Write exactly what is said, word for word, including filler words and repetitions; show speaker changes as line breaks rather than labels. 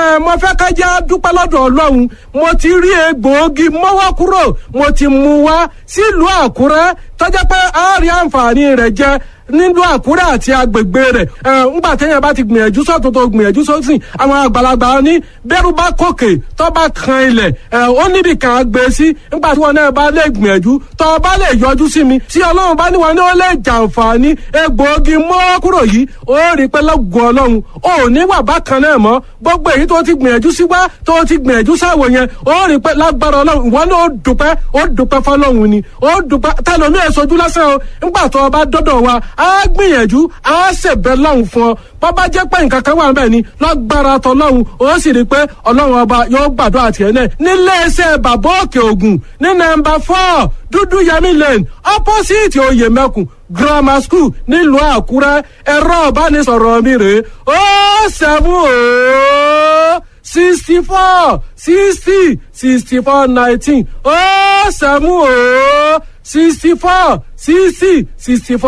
Ẹ mo fẹ́ ká jẹ́ dúpẹ́ lọ́dọ̀ Ọlọ́run. Mo ti rí egbòogi mọ́wọ́ kúrò, mo ti mú wá sílùú Àkúrẹ́ tọ́jà pé a rí àǹfààní rẹ̀ jẹ nílùú Àkúrẹ́ àti agbègbè rẹ̀. Ẹ ńgbà téèyàn bá ti gbìyànjú sọ́tún tó gbìyànjú sósìn, àwọn àgbàlagbà ní bẹ́rù bá kòkè tó bá kan ilẹ̀, ẹ ó níbi kan gbé sí. Ńgbà tí wọn náà bá lè gbìyànjú tó bá lè yọjú sí mi, tí Ọlọ́run bá ní wọn ní ó lè jàǹfààní egbòogi mọ́wọ́ kúrò yìí, ó rí pé lọ́gùn Ọlọ́run ò ní wà bákan náà mọ́. Gbogbo èyí tó ti gbìyànjú sí wá tó ti gbìyànjú sáwọ yẹn, ó rí pé lágbára Ọlọ́run ìwọ náà ó dúpẹ́, ó dúpẹ́ fọ́lọ́run ni, ó dúpẹ́. Tẹlomi ẹ̀ sojú lásán o. Ńgbà tó o bá dọ́dọ̀ wa, á gbìyànjú, á ṣèbẹ̀ lọ́hùn fún ọ. Bọ́bá jẹ́ pé nǹkan kan wà níbẹ̀ ni, lágbára tọlọ́hun ó sì rí pé Ọlọ́run ọba yóò gbàdúrà tiẹ̀ náà. Nílé iṣẹ́ Bàbá Òkè Ògùn ní nọ́mbà four Dúdú Yẹmí Lane, opposite Oyèmẹkùn Grammar School, nílùú Àkúrẹ́, ẹ̀rọ ìbánisọ̀rọ̀ mi rèé: ó seven ó sixty four sixty sixty four nineteen, ó seven ó sixty four sixty sixty four.